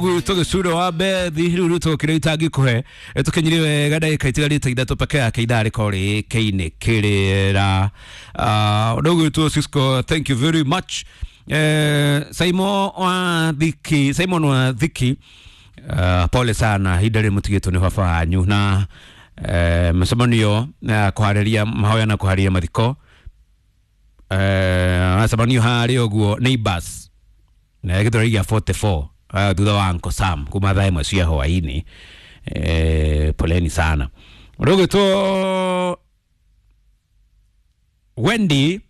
Tũgĩcuro wa bethi rĩu rĩu tũkĩrĩa itangĩkũhe tũkinyire wega ndagĩka itigarĩte ithatũ peke yake ithaa rĩkorwo rĩkĩinĩ kĩrĩra ũndũ ũgwĩtwo Cisco, thank you very much. Simon wa Thiki, Simon wa Thiki, pole sana ihinda rĩrĩ mũtigĩtwo nĩ baba wanyu na mũcemanio kũharĩria mahoya na kũharĩria mathiko acemanio harĩa ũguo neighbors na gĩthũrai gĩa 44 thutha wa Uncle Sam kuma thaa ĩmwe cia hwaĩ-inĩ. Poleni sana. Ũndũ ũgwĩtwo Wendy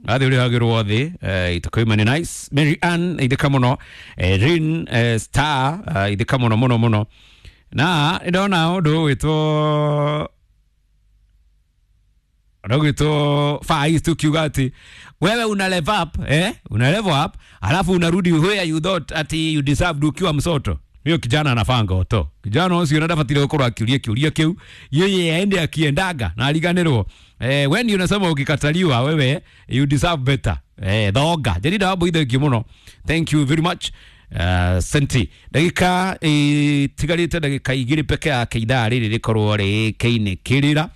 athi ũrĩhagĩrwo thĩ itakoima nĩ nice. Mary Ann ithika mũno, Rin Star, ithika mũno mũno mũno na ndona ũndũ ũgwĩtwo ũgwĩtwo Faiz tukiuga ati wewe una level up, una level up alafu unarudi where you thought ati you deserved ukiwa msoto. Hiyo kijana anafaa ngoto. Kijana ũcio ndabatire gũkorwo akiuria kiuria kiu, yeye aende akiendaga na ariganĩrwo. When unasema ukikataliwa wewe you deserve better. Thonga Jerida wa thank you mũno, thank you very much. Senti ndagĩka itigarĩte ndagĩka igĩrĩ peke yake ithaa rĩrĩ rĩkorwo rĩkĩinĩ kĩrĩra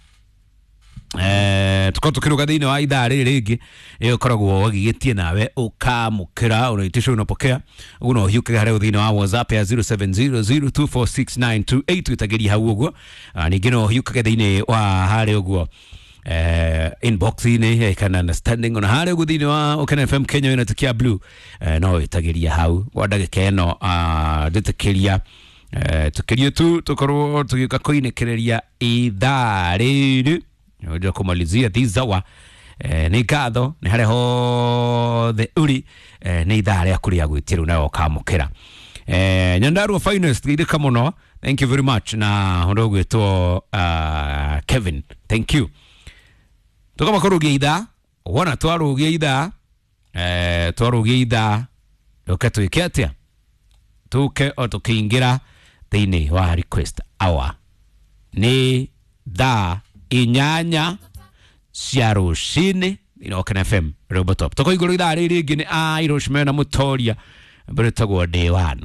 tukorwo tukiruga thĩinĩ wa ithaa rĩrĩ rĩngĩ ĩyo ũkoragwo wagigĩtie nawe ũkamũkĩra unaitisha unapokea ũguo no ũhiũkage harĩa thĩinĩ wa WhatsApp ya 0700246928 wĩtagĩria hau ũguo. Ningĩ no ũhiũkage thĩinĩ wa harĩa ũguo inbox-inĩ kana understanding ona harĩa ũguo thĩinĩ wa Ũkena FM Kenya wĩna tikia blue, no wĩtagĩria hau kwa ndagĩka ĩno njĩtĩkĩria tukirie tu tukorwo tũgĩũka kũinĩkĩrĩria ithaa rĩrĩ unajua kumalizia this hour. Nĩ ngatho nĩ harĩa hothe ũrĩ, nĩ ithaa rĩaku rĩa gwĩtĩrwo nawe ũkamũkĩra. Nyandarua Finest geithĩka mũno, thank you very much na ũndũ ũgwĩtwo Kevin, thank you. Tukamba kũrũgia ithaa wona twarũgia ithaa, twarũgia ithaa tũke twĩke atĩa tũke o tũkĩingĩra thĩinĩ wa request hour nĩ thaa 8 cia rũcinĩ thĩinĩ wa Ũkena FM Robotop tũko igũrũ ithaa rĩrĩ rĩngĩ nĩ Irish mena Mũtoria mbere ĩtagwo Day One.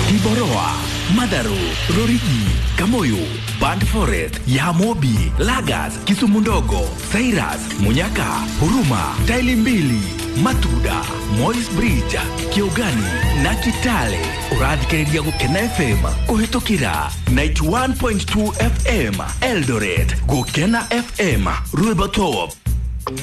Kiboroa, Madaru, Rorigi, Kamoyo, Band Forest, Yamobi, Lagas, Kisumu Ndogo, Cyrus, Munyaka, Huruma, Taili Mbili, Matuda, Moi's Bridge, Kiugani na Kitale. Ũrathikĩrĩria Gũkena FM kũhĩtũkĩra 91.2 FM Eldoret, Gũkena FM Rwĩmbo Top.